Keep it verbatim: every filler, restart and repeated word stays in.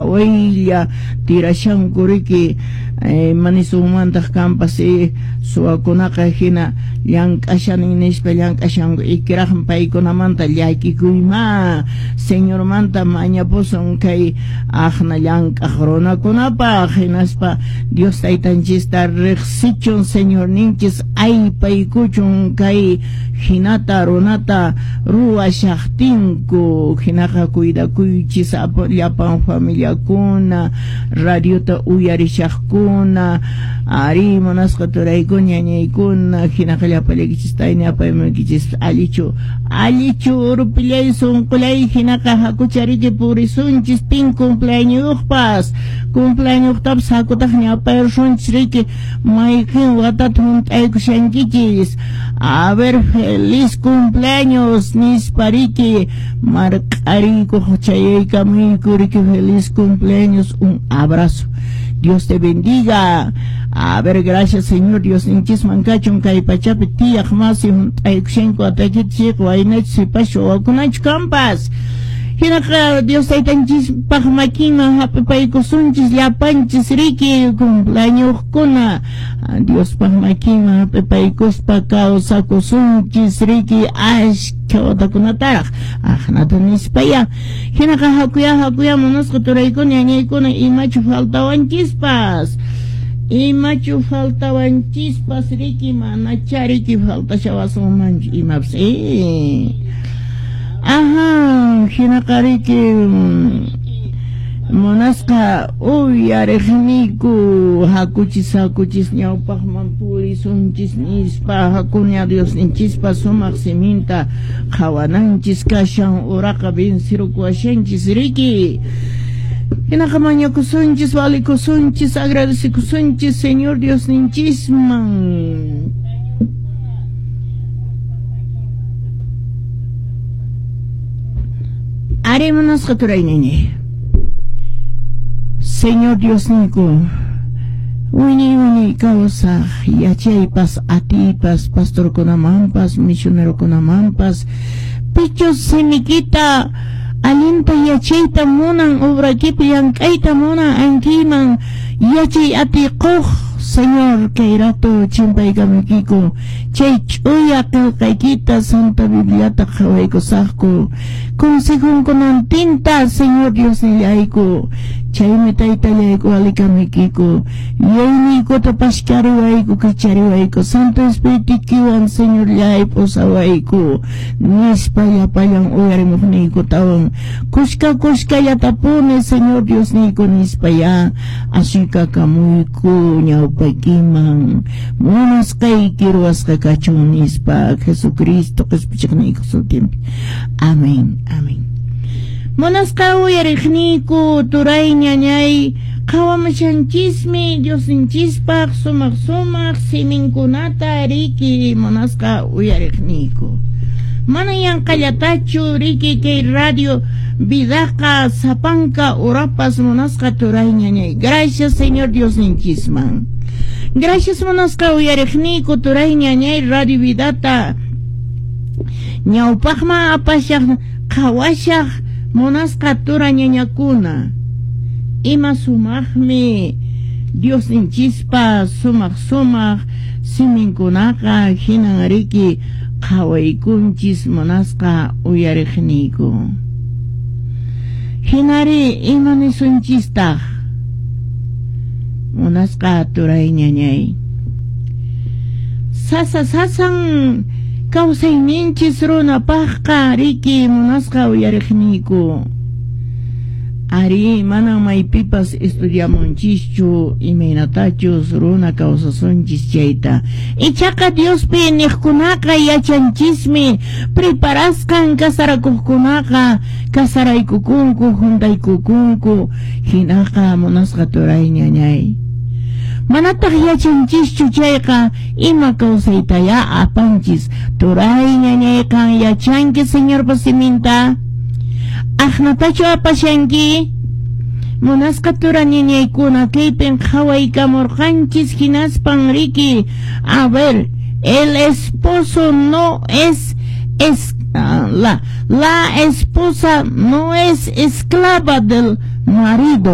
Qhawaylla tirashanku riki, manisunmantaq kanpas suwakunaqa hina llank'ashanin nispa llank'ashanku, ikiraqmi paykunamanta llakikuyma. Señormanta mañapusun kay aqna llank'aq runakunapaq, hinaspa Dios taytanchista riqsichun Señorninchis, aypaykuchun kay hinata runata ruwashaqtinku. Hinaqa cuidakuychis llapan familiakuna, radiota uyarishaqkuna, ari munasqa turaykuna, ñañaykuna, hinaqa llapallaykichis tayni apaymunkichis allichu allichu urpillay sunqullay. Hinaqa hakuchariki purisunchis pin cumpleañospas cumpleañostapas hakutaq ñapayrusunchis riki, mayqin watata hunt'aykushankichis. A ver, feliz cumpleaños nispa riki marq'ariykuq chayaykamuyku riki, feliz cumpleaños, un abrazo, Dios te bendiga. A ver, gracias Señor Dios ninchisman kachun kay pachapi tiyaq masi hunt'aykushanku watakichik waynachu sipaschu wawakunachu kanpas. Hinaqa Dios taytanchispaq makinman hap'ipaykusunchis llapanchis riki cumpleañoskuna, Diospaq makinman hap'ipaykuspa kawsakusunchis riki ashkha watakunataraq aqnata nispaya. Hinaqa hakuya hakuya munasqa turaykuna ñañaykuna, imachu faltawanchispas, imachu faltawanchispas riki, manacha riki faltashawasunmanchu imapas. eh Ajá, hinaqa riki munasqa uyariqniyku, hakuchis hakuchis ñawpaqman purisunchis nispa, hakuña Diosninchispa sumaq siminta qhawananchis kashan, uraqa vencerukuwashanchis riki. Hinaqa mañakusunchis, valikusunchis, agradecikusunchis Señor Diosninchisman. Ari munasqa turay ñañay. Señor Diosniyku, wiñay wiñay kawsaq yachaypas atiypas pastorkunamanpas misionerokunamanpas, pichus simikita allinta yachayta munan, obrakipi llank'ayta munan, ankiyman yachay atiy quq Señor, kay rato chimpaykamuykiku chay ch'uya qillqaykita Santa Bibliata qhawaykusaqku consejunkunantinta Señor Diosnillayku, chaymi taytallayku alikamuykiku yuyayniykuta pashkariwayku kachariwayku Santo Espiritukiwan Señorllay pusawayku nispa llapallan uyarimuqniykutawan kushka kushkallatapuni Señor Diosniyku nispa ya asuykakamuyku ñawpaykiman munasqayki ruwasqa kachun nispa Jesucristo qhispichiqniyku sutinpi. Amén, amén. Munasqa uyariqniyku turay ñañay, qhawamushanchismi Diosninchispaq sumaq sumaq siminkunata riki munasqa uyariqniyku. Mana yanqallatachu riki kay radio vidaqa sapanka urapas munasqa turay ñañay. Gracias Señor Diosninchisman. Gracias munasqa uyariqniyku turay ñañay radio vidata ñawpaqman apashaq qhawashaq munasqa tura ñañakuna. Ima sumaqmi Diosninchispa sumaq sumaq siminkunaqa hinan riki qhawaykunchis munasqa uyariqniyku. Hinari ima nisunchistaq munasqa turay ñañay. Sasa sasan kawsayninchis runapaqqa riki munasqa uyariqniyku. Ari manan maypipas estudiamunchischu imaynatachus runa kawsasunchis chayta. Ichaqa Diospi niqkunaqa yachanchismi preparasqan kasarakuqkunaqa kasaraykukunku juntaykukunku hinaqa munasqa turay ñañay. Manataq yachanchischu chayqa ima kawsaytaya apanchis turay ñañayqan yachanki Señorpa siminta. Aqnatachu apashanki munasqa tura ñañaykuna kaypin qhawaykamurqanchis hinaspan riki. A ver, el esposo no es, es la, la esposa no es esclava del marido.